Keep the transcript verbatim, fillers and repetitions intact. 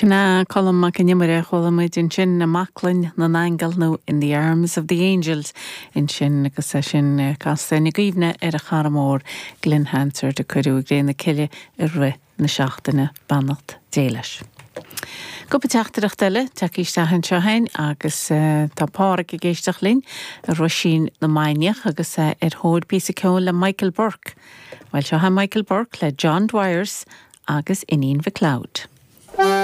Sin é Colm Mac Con Iomaire chuala muid ansin i mbaclainn na n-aingeal nó in the arms of the angels ansin agus é sin casta i gcuimhne ar a chara mór Glen Hansard a cuireadh i gcré na cille i rith na seachtaine beannacht Dé leis. Cúpla teachtaireacht eile tagtha isteach anseo againn agus uh, tá Pádraig ag éisteacht linn i Roisín na Mainiach agus uh, ar thóir píosa ceoil le Michael Burke. Well seo Michael Burke le John Dwyers agus Iníon MacLeod.